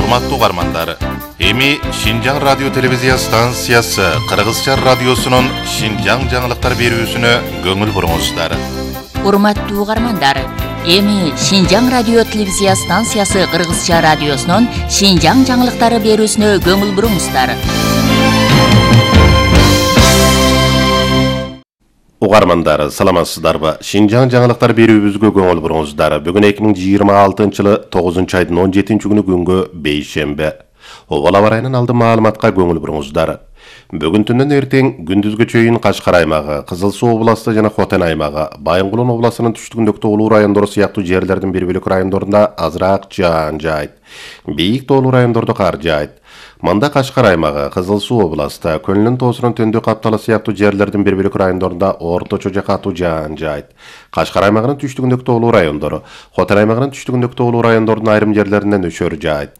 Урматтуу угармандар, эми Шинжаң радио телевизия станциясы Кыргызча радиосунун Шинжаң жаңылыктар берүүсүнө көңүл буруңуздар. Урматтуу угармандар, эми Шинжаң радио телевизия станциясы Кыргызча радиосунун Шинжаң жаңылыктары берүүсүнө көңүл буруңуздар. Угармандар, саламатсыздарбы? Шинжаң жаңылыктар берүүбүзгө көңүл буруңуздар. Бүгүн 2026-жылы 9-айдын 17-күнү күнгө бейшембе. Обал аба ырайынын алды маалыматка көңүл буруңуздар. Бүгүн түндөн эртең күндүзгө чейин Кашкар аймагы, Кызыл Суу областы жана Хотен аймагы, Байынгулун областынын түштүгүндөгү тоолуу райондору сыяктуу жерлердин бир бөлүк райондорунда азыраак жаан жаайт. Бийик тоолуу райондордо кар жаайт. Мында Кашкар аймагы, Кызыл Суу областы, Көлүнүн тоосунун төндү капталы сыяктуу жерлердин бир бөлүк райондорунда орточо же катуу жаан жаайт. Кашкар аймагынын түштүгүндөгү тоолуу райондору, Хотен аймагынын түштүгүндөгү тоолуу райондордун айрым жерлеринде нөшөр жаайт.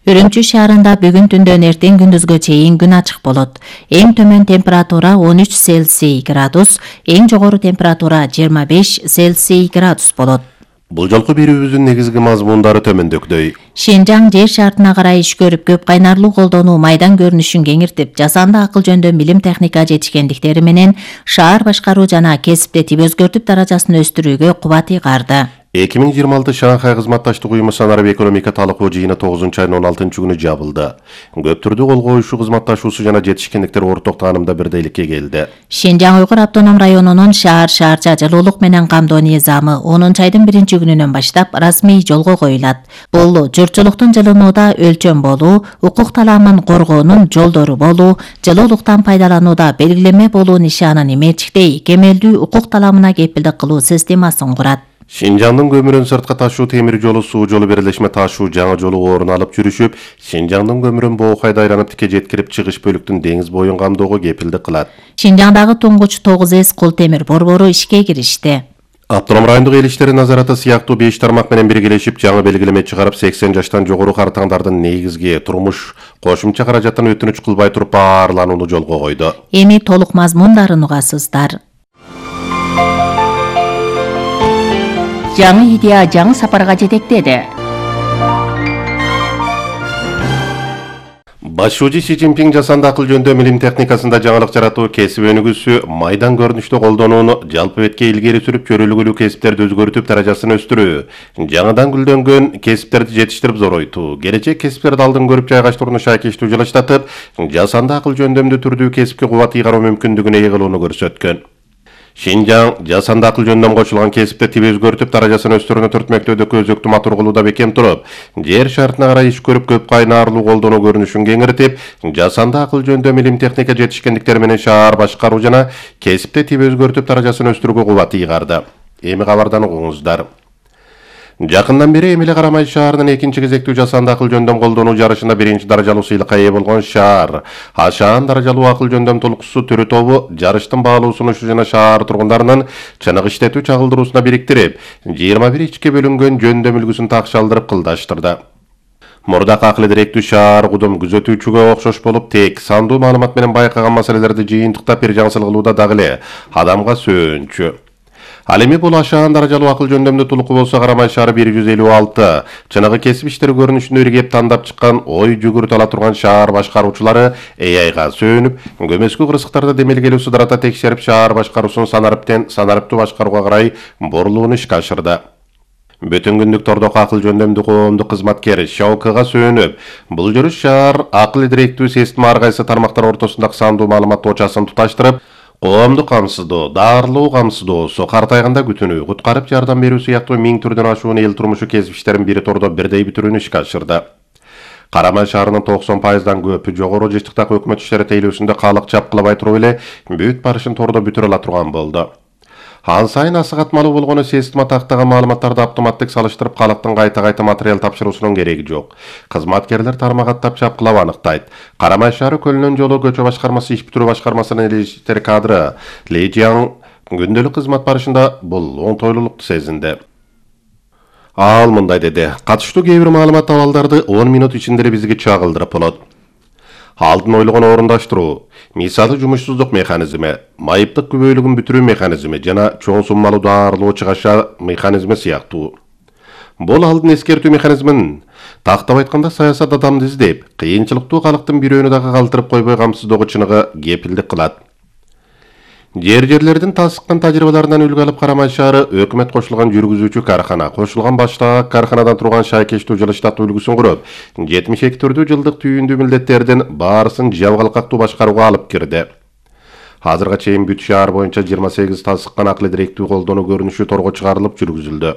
Үрүмчү шаарында бүгүн түндөн эртең күндүзгө чейин күн ачык болот. Эң төмөн температура 13 Цельсий градус, эң жогору температура 25 Цельсий градус болот. Бул жолку берүүбүздүн негизги мазмундары төмөндөгүдөй. Шинжаң жер шартына карай иш көрүп, көп кайнарлуу колдонуу майдан көрүнүшүн кеңиртип, жасанды акыл жөнүндө билим техника жетишкендиктери менен шаар башкаруу жана кесипте тип өзгөртүп даражасын өстүрүүгө кубат ыйгарды. 2026 Шанхай кызматташтык уюму санарып экономика талкуу жыйыны 9-айдын 16-күнү жабылды. Көп түрдүү кол коюшуу, кызматташуусу жана жетишкендиктер орток таанымда бирдейликке келди. Шинжаң Уйгур автоном районунун шаар-шаарча жылуулук менен камдоо низамы 10-айдын 1-күнүнөн баштап расмий жолго коюлат. Бул журтчулуктун жылынууда өлчөм болуу, укук таламын коргоонун жолдору болуу, жылуулуктан пайдаланууда белгилеме болуу нишанын иметиктей кемелдүү укук таламына кепилдик кылуу системасын курат. Шинжаңдын көмүрүн сыртка ташуу темир жолу, суу жолу бирелешме ташуу жаңы жолу орун алып жүрүшүп, Шинжаңдын көмүрүн Боокайда айланып тике жеткирип чыгыш бөлүктүн деңиз боюн камдоого кепилдик кылат. Шинжаңдагы туңгуч 9С кул темир борбору ишке киришти. Автоном райондук эл иштери назараты сыяктуу 5 тармак менен биргелешип жаңы белгилеме чыгарып, 80 жаштан жогору картаңдардын негизги турмуш кошумча каражаттан өтүнүч кылбай туруп баарланууну жолго койду. Эми толук мазмундарын угасыздар. Жаңы идея жаңы сапарга жетектеди. Башчы Си Цзиньпин жасанды акыл жөнүндө билим техникасында жаңылык жаратуу кесип өнүгүүсү, майдан көрүнүштө колдонууну жалпы бетке илгери сүрүп, көрүлгүлүү кесиптерди өзгөртүп, даражасын өстүрүү, жаңыдан гүлдөнгөн кесиптерди жетиштирип зоройтуу, келечек кесиптерди алдын көрүп жайгаштырууну шайкештүү жылыштатып, жасанды акыл жөнүндө түрдүү кесипке кубат ыйгаруу мүмкүндүгүн ээ кылууну көрсөткөн. Шинжаң жасанды акыл жөнүндөн кошулган кесипте тип өзгөртүп, даражасын өстүрүүнү түртмөктөөдөгү өзөктүү матур кылууда бекем туруп, жер шартына карай иш көрүп, көп кайнарлуу колдонуу көрүнүшүн кеңиртип, жасанды акыл жөнүндө билим техника жетишкендиктери менен шаар башкаруу жана кесипте тип өзгөртүп, даражасын өстүрүүгө кубат ыйгарды. Эми кабардан угуңуздар. Жакындан бери Эмиле Карамай шаарынын 2-чи кезектүү жасанды акыл жөнүндө колдонуу жарышында 1-чи даражалуу сыйлыкка ээ болгон шаар Ашаан даражалуу акыл жөндөм толкусу түрү тобу жарыштын баалуу сунушу жана шаар тургундарынын чыныгы иштетүү чагылдыруусуна бириктирип, 21 ичке бөлүнгөн жөндөм үлгүсүн такшалдырып кылдаштырды. Мурдак акыл директүү шаар кудум күзөтүүчүгө окшош болуп, тек сандуу маалымат менен байкаган маселелерди жыйынтыктап бир жаңсыл кылууда дагы эле адамга сөөнчү. Ал эми бул Ашаан даражалуу акыл жөндөмдө тулуку болсо, Карамай шаары 156 чыныгы кесип иштери көрүнүшүндө иргеп тандап чыккан, ой жүгүрүп ала турган шаар башкаруучулары AIга сөөнүп, көмөскү кырсыктарды демелгелүү сударата текшерип, шаар башкаруусун санарыптуу башкарууга карай бурулууну ишке ашырды. Бүтүн күндүк тордок акыл жөндөмдүү коомдук кызматкер Шаукага сөөнүп, бул жүрүш шаар акыл директүү система ар кайсы тармактар ортосундагы сандуу маалымат очасын туташтырып, коомдук камсыздоо, даарылоо камсыздоосу, картайганда күтүнүү, куткарып жардам берүү сыяктуу 1000 түрдөн ашуун эл турмушу кесип иштерин бири тордо бирдей бүтүрүүнү ишке ашырды. Карамай шаарынын 90%дан көпү жогору жыштыктагы өкмөт иштери тейлөөсүндө калык чапкылабай туруп эле бүт барышын тордо бүтүрө ала турган болду. Ан сайын асыгатмалуу болгону система тактаган маалыматтарды автоматтык салыштырып, калктын кайта-кайта материал тапшыруусунун кереги жок. Кызматкерлер тармагаттап чапкылап аныктайт. Карамай шаары Көлүнөн жолу көчө башкармасы иш бүтүрүү башкармасынын эл иштери кадры Ли Жиаң күндөлүк кызмат барышында бул оңтойлуулукту сезинди. Ал мындай деди: катыштуу кээ бир маалымат абалдарды 10 минут ичинде эле бизге чагылдырып болот. Алдын ойлогон орундаштыруу, мисалы жумушсуздук механизми, майыптык күбөйлүгүн бүтүрүү механизми жана чоң суммалуу даарылоо чыгаша механизми сыяктуу. Бул алдын эскертүү механизмин Тактап айтканда саясат адамды издеп, кыйынчылыктуу калктын бирөөнү дагы калтырып койбой камсыздоого чыныгы кепилдик кылат. Жерлердин тасыккан тажрыйбаларынан үлгү алып Карамай шаары өкмөт кошулган жүргүзүүчү кархана, кошулган баштагы карханадан турган шайкештүү жылыштатуу үлгүсүн куруп, 72 жылдык түйүндүү милдеттердин баарысын жабгалкактуу башкарууга алып кирди. Азырга чейин бүт шаар боюнча 28 тасыккан акыл директүү колдонуу көрүнүшү торго чыгарылып жүргүзүлдү.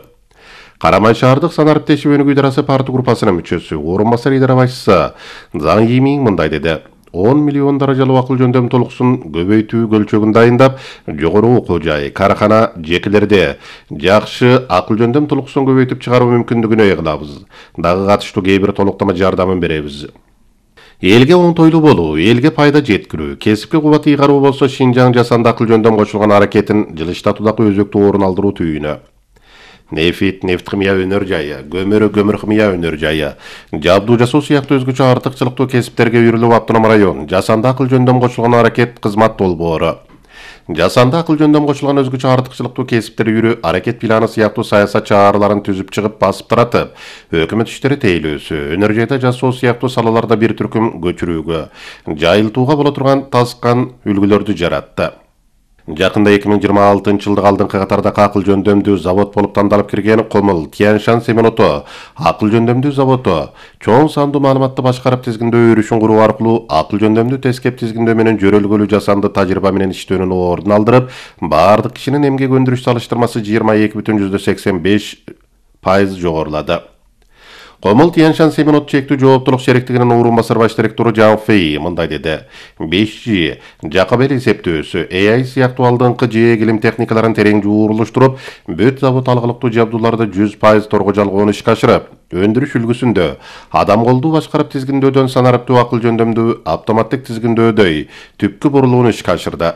Карамай шаардык санарип теши өнүгүү идарасы парты группасынын мүчөсү, орун басар идара башчысы Заң Йимиң мындай деди: 10 миллион даражалуу акыл жөндөм толуксун көбөйтүү көлчөгүн дайындап, жогору окуу жай, кархана жекелерде жакшы акыл жөндөм толуксун көбөйтүп чыгаруу мүмкүндүгүн ой кылабыз. Дагы катыштуу кээ бир толуктама жардамын беребиз. Элге оңтойлуу болуу, элге пайда жеткирүү, кесипке кубат ыйгаруу болсо Шинжаң жасанды акыл жөндөм кошулган аракетин жылыштатуудагы өзөктүү орун алдыруу түйүнү. Нефит, нефтхимия өнөр жайы, көмүр химия өнөр жайы, жабдуу жасоо сыяктуу өзгөчө артыкчылыктуу кесиптерге үйрүлүп автоном район жасанды акыл жөндөм кошулган аракет кызмат долбоору. Жасанды акыл жөндөм кошулган өзгөчө артыкчылыктуу кесиптер үйрү аракет планы сыяктуу саясат чараларын түзүп чыгып басып таратып, өкмөт иштери тейлөөсү, өнөр жайда жасоо сыяктуу салаларда бир түркүм көчүрүүгө, жайылтууга боло турган тасыккан үлгүлөрдү жаратты. Жакында 2026 жылдык алдыңкы катардагы акыл жөндөмдүү завод болуп тандалып кирген Комул Тяньшан Семеното акыл жөндөмдүү заводу чоң сандуу маалыматты башкарып тизгиндөө өрүшүн куруу аркылуу акыл жөндөмдүү тескеп тизгиндөө менен жөрөлгөлүү жасанды тажрыйба менен иштөөнүн ордун алдырып, баардык кишинин эмгек өндүрүш салыштырмасы 22,85% жогорулады. Комул Тяньшан Семенот чектүү жооптулук шериктигинин орун басар баш директору Жан Фэй мындай деди: 5G, жакып эл эсептөөсү, AI сыяктуу алдыңкы жээ илим техникаларын терең жуурулуштуруп, бүт завод алгылыктуу жабдууларды 100% торго жалгоону ишке ашырып, өндүрүш үлгүсүндө адам колдуу башкарып тизгиндөөдөн санариптүү акыл жөндөмдүү автоматтык тизгиндөөдөй түпкү бурулууну ишке ашырды.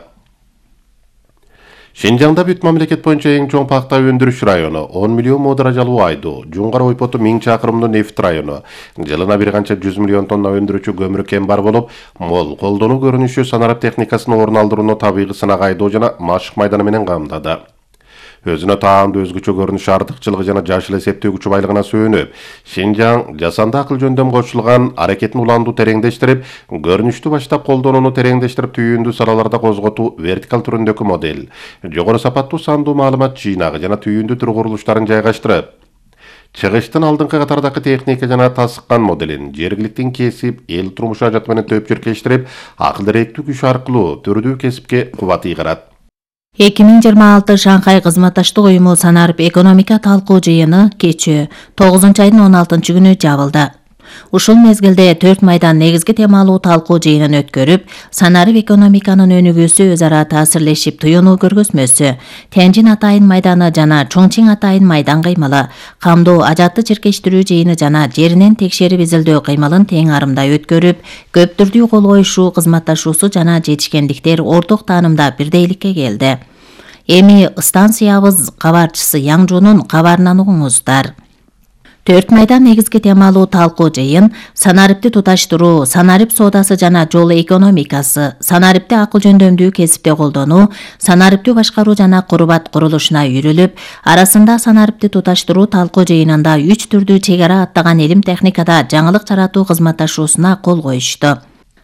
Шинжаңда бүт мамлекет боюнча эң чоң пакта өндүрүш району, 10 миллион мо даражалуу айдоо, Жуңгар ойпоту 1000 чакырымдуу нефт району, жылына бир канча 100 миллион тонна өндүрүүчү көмүр кен бар болуп, мол колдонуу көрүнүшү санарип техникасынын орун алдырууну табигый сынак айдоо жана машык майданы менен камдады. Өзүнө таандуу өзгөчө көрүнүш артыкчылыгы жана жашыл эсептөө күчү байлыгына сүйөнүп, Шинжаң жасанды акыл жөндөм кошулган аракетин уландуу тереңдештирип, көрүнүштү баштап колдонууну тереңдештирип түйүндүү салаларда козготуу вертикал түрүндөгү модель, жогору сапаттуу сандуу маалымат жыйнагы жана түйүндүү түр курулуштарын жайгаштырып, чыгыштын алдыңкы катардагы техника жана тасыккан моделин жергиликтин кесип, эл турмуш ажаты менен төпчүркештирип, акыл директүү күч аркылуу түрдүү кесипке кубат ыйгарат. 2026 Шанхай кызматташтык уюму санарип экономика талкуу жыйыны кечээ 9 айдын 16 күнү жабылды. Ушул мезгилде 4 майдан негизги темалуу талкуу жыйынын өткөрүп, санарип экономиканын өнүгүүсү өз ара таасирлешип туюнуу көргөзмөсү, Тяньжин Атайын майданы жана Чоңчиң Атайын майдан кыймылы, камдоо ажатты чиркештирүү жыйыны жана жеринен текшерип изилдөө кыймылын тең арымда өткөрүп, көп түрдүү кол коюшуу, кызматташуусу жана жетишкендиктер орток таанымда бирдейликке келди. Эми станциябыз кабарчысы Яңжунун кабарынан угуңуздар. 4 майдан негизги темалуу талкуу жыйын санарипти туташтыруу, санарип соодасы жана жол экономикасы, санарипти акыл жөндөмдүү кесипте колдонуу, санариптүү башкаруу жана курбат курулушуна үйрүлүп, арасында санарипти туташтыруу талкуу жыйынында 3 түрдүү чек ара аттаган илим техникада жаңылык жаратуу кызматташуусуна кол коюшту.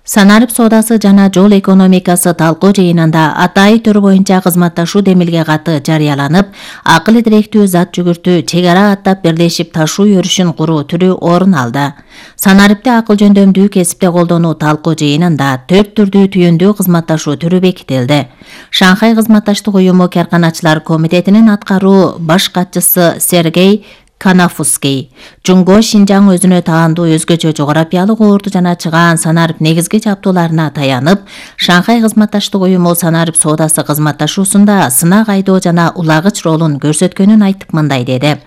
Санарип соодасы жана жол экономикасы талкуу жыйынында атайы төр боюнча кызматташуу демилге каты жарыяланып, акыл директүү зат жүгүртүү чек ара аттап бирлешип ташуу өрүшүн куруу түрү орун алды. Санарипти акыл жөндөмдүү кесипте колдонуу талкуу жыйынында 4 түрдүү түйүндүү кызматташуу түрү бекитилди. Шанхай кызматташтык уюму Карканачылар комитетинин аткаруу баш катчысы Сергей Канафуский, Жуңго Шинжаң өзүнө таандуу өзгөчө жогорапиялык орду жана чыгаан санарип негизги жабдууларына таянып, Шанхай кызматташтык уюму санарип соодасы кызматташуусунда сынак айдоо жана улагыч ролун көрсөткөнүн айтып мындай деди.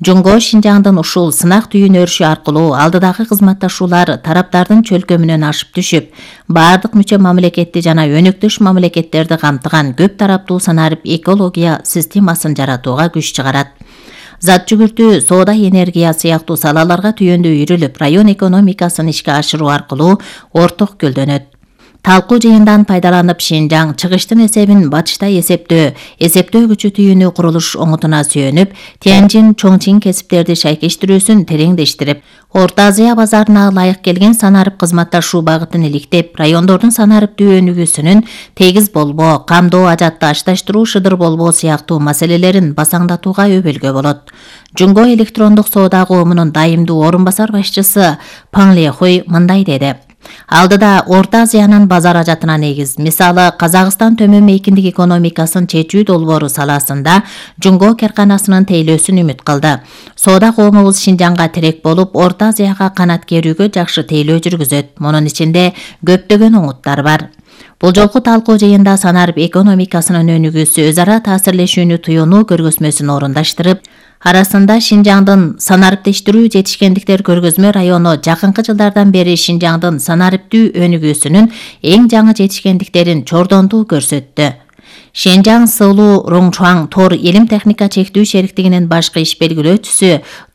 Жуңго Шинжаңдын ушул сынак түйүн өрүшү аркылуу алдыдагы кызматташуулар тараптардын чөлкөмүнөн ашып түшүп, бардык мүчө мамлекетти жана өнөктөш мамлекеттерди камтыган көп тараптуу санарип экология системасын жаратууга күч чыгарат. Зат жүгүртүү, соода, энергия сыяктуу салаларга түйүндүү үйрүлүп, район экономикасын ишке ашыруу аркылуу орток гүлдөнөт. Талкуу жыйындан пайдаланып Шинжаң чыгыштын эсебин батышта эсептөө күчү түйүнү курулуш оңутуна сүйөнүп, Тяньжин, Чоңчин кесиптерди шайкештирүүсүн тереңдештирип, Орто Азия базарына ылайык келген санарып кызматташуу багытын иликтеп, райондордун санариптүү өнүгүүсүнүн тегиз болбоо, камдоо, ажатты ашташтыруу, шыдыр болбоо сыяктуу маселелерин басаңдатууга өбөлгө болот. Жунго электрондук соода коомунун дайымдуу орун басар башчысы Пан Лехуй мындай деди. Алдыда Орто Азиянын базар ажатына негиз, мисалы Казакстан төмөн мейкиндик экономикасын чечүү долбоору саласында Жунго керканасынын тейлөөсүн үмүт кылды. Соода коомубуз Шинжаңга терек болуп, Орто Азияга канат керүүгө жакшы тейлөө жүргүзөт. Мунун ичинде көптөгөн оңуттар бар. Бул жолку талкуу жыйында санарып экономикасынын өнүгүүсү өз ара таасирлешүүнү туюунуу көргөзмөсүн орундаштырып, арасында Шинжаңдын санариптештирүү жетишкендиктер көргөзмө району жакынкы жылдардан бери Шинжаңдын санариптүү өнүгүүсүнүн эң жаңы жетишкендиктерин чордонтуу көрсөттү. Шэнжаң Сылуу Роңчуаң Тор илим техника чектүү шериктигинин башкы иш белгилөөчүсү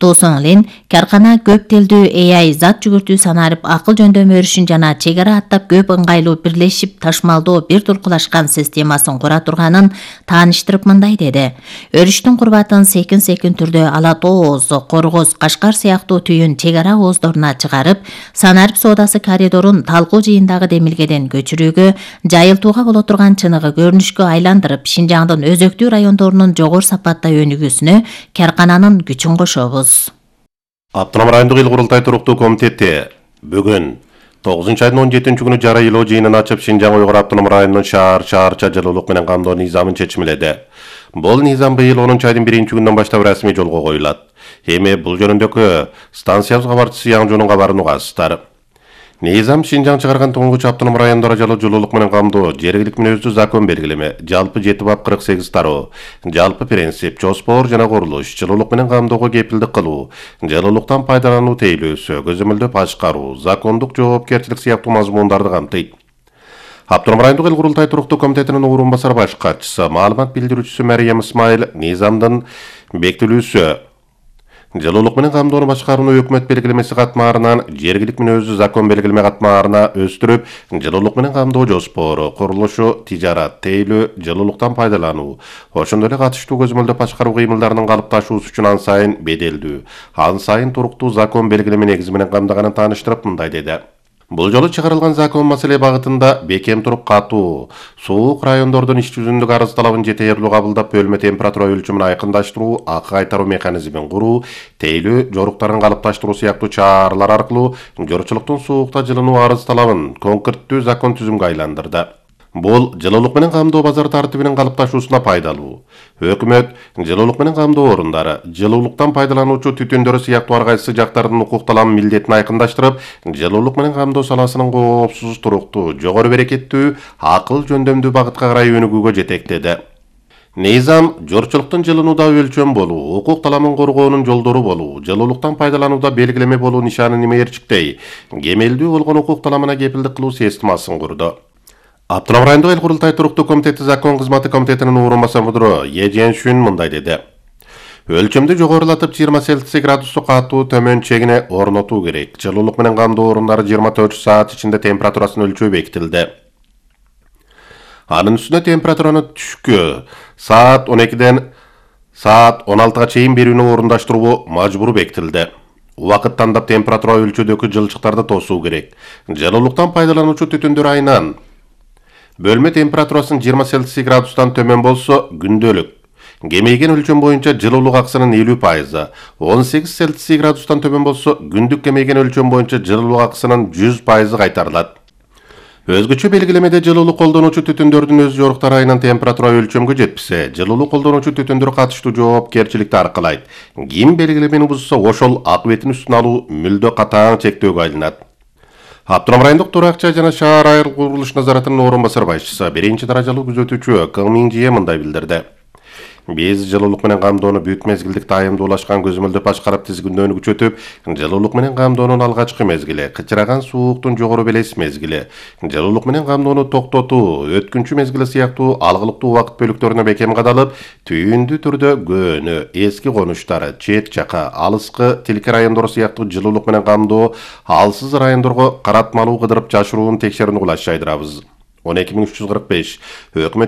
Ду Сонлин каркана көп тилдүү AI зат жүгүртүү санарип акыл жөндөмө өрүшүн жана чек ара аттап көп ыңгайлуу бирлешип ташмалдоо бир туркулашкан системасын кура турганын тааныштырып мындай деди. Өрүштүн курбатын секин түрдө Ала Тоо оозу, Коргоз, Кашкар сыяктуу түйүн чек ара ооздоруна чыгарып, санарип соодасы коридорун талкуу жыйындагы демилгеден көчүрүүгө, жайылтууга боло турган чыныгы көрүнүшкө айландырып, Шинжаңдын өзөктүү райондорунун жогору сапатта өнүгүүсүнө каркананын күчүн кошобуз. Автоном райондук эл курултай туруктуу комитети бүгүн 9-айдын 17-күнү жара ыйлоо жыйынын ачып Шинжаң Уйгур автоном районунун шаарча жылуулук менен камдоо низамын чечимледи. Бул низам быйыл 10-айдын 1-күнүнөн баштап расмий жолго коюлат. Эми бул жөнүндөгү станциябыз кабарчысы Яңжонун кабарын угасыздар. Низам Шинжаң чыгарган туңгуч автоном райондор жалпы жылуулук менен камдоо, жергилик мүнөздүү закон белгилеме, жалпы 7 бап 48 тароо, жалпы принцип, жоспор жана курулуш, жылуулук менен камдоого кепилдик кылуу, жылуулуктан пайдалануу тейлөөсү, көзөмөлдөп ашкаруу, закондук жоопкерчилик сыяктуу мазмундарды камтыйт. Автоном райондук эл курултай туруктуу комитетинин орун басар баш катчысы, маалымат билдирүүчүсү Мариям Исмаил низамдын бекитилүүсү жылуулук менен камдоону башкарууну өкмөт белгилемеси катмаарынан жергилик мүнөздүү закон белгилеме катмаарына өстүрүп, жылуулук менен камдоо жоспору, курулушу, тижарат, тейлөө, жылуулуктан пайдалануу, ошондой эле катыштуу көзөмөлдөп башкаруу кыймылдарынын калыпташуусу үчүн ан сайын беделдүү, ан сайын туруктуу закон белгилеме негизи менен камдаганын тааныштырып мындай деди. Бул жолу чыгарылган закон маселе багытында бекем туруп катуу, суук райондордун иш жүзүндөгү арыз талабын жетээрлүү кабылдап, бөлмө температура өлчөмүн айкындаштыруу, акы кайтаруу механизмин куруу, тейлөө жоруктарын калыпташтыруу сыяктуу чаралар аркылуу жоручулуктун суукта жылынуу арыз талабын конкреттүү закон түзүмгө айландырды. Бул жылуулук менен камдоо базар тартибинин калыпташуусуна пайдалуу. Өкмөт жылуулук менен камдоо орундары, жылуулуктан пайдалануучу түтүндөрү сыяктуу ар кайсы жактардын укук талабын милдетин айкындаштырып, жылуулук менен камдоо саласынын коопсуз, туруктуу, жогору берекеттүү, акыл жөндөмдүү багытка карай өнүгүүгө жетектеди. Низам жорчулуктун жылынууда өлчөм болуу, укук талабын коргоонун жолдору болуу, жылуулуктан пайдаланууда белгилеме болуу нишанын эмерчиктей, кемелдүү болгон укук талабына кепилдик кылуу системасын курду. Автоном райондук эл курултай туруктуу комитети закон кызматы комитетинин орун басар мудуру Е Женшүн мындай деди. Өлчөмдү жогорулатып 20 Цельсий градусту катуу төмөн чегине орнотуу керек. Жылуулук менен камдоо орундары 24 саат ичинде температурасын өлчөө бекитилди. Анын үстүнө температураны түшкү саат 12ден саат 16га чейин берүүнү орундаштыруу мажбур бекитилди. Убакыт тандап температура өлчөөдөгү жылчыктарды тосуу керек. Жылуулуктан пайдалануучу түтүндөр айынан бөлмө температурасын 20 Цельсий градустан төмөн болсо күндөлүк. Кемейген өлчөм боюнча жылуулук акысынын 50%, 18 Цельсий градустан төмөн болсо күндүк кемейген өлчөм боюнча жылуулук акысынын 100% кайтарылат. Өзгөчө белгилемеде жылуулук колдонуучу түтүндөрдүн өз жоруктары айынан температура өлчөмгө жетпесе, жылуулук колдонуучу түтүндөр катыштуу жоопкерчиликти аркалайт. Ким белгилемени бузса, ошол акыбетин үстүнө алуу мүлдө катаң чектөөгө айланат. Автоном райондук турак жай жана шаар айыл курулуш назаратынын орун басар башчысы, 1-даражалуу күзөтүүчү Кың Минжие мындай билдирди. Биз жылуулук менен камдоону бүт мезгилдик дайымдуулашкан көзөмөлдөп башкарып тизгиндөөнү күчөтүп, жылуулук менен камдоонун алгачкы мезгили, кычыраган сууктун жогору белес мезгили, жылуулук менен камдоону токтотуу, өткүнчү мезгили сыяктуу алгылыктуу убакыт бөлүктөрүнө бекем кадалып, түйүндүү түрдө көөнү, эски конуштар, чет жака, алыскы тилки райондор сыяктуу жылуулук менен камдоо алсыз райондорго каратмалуу кыдырып жашыруун текшерүүнү кулаш жайдырабыз. 12345 өкмөт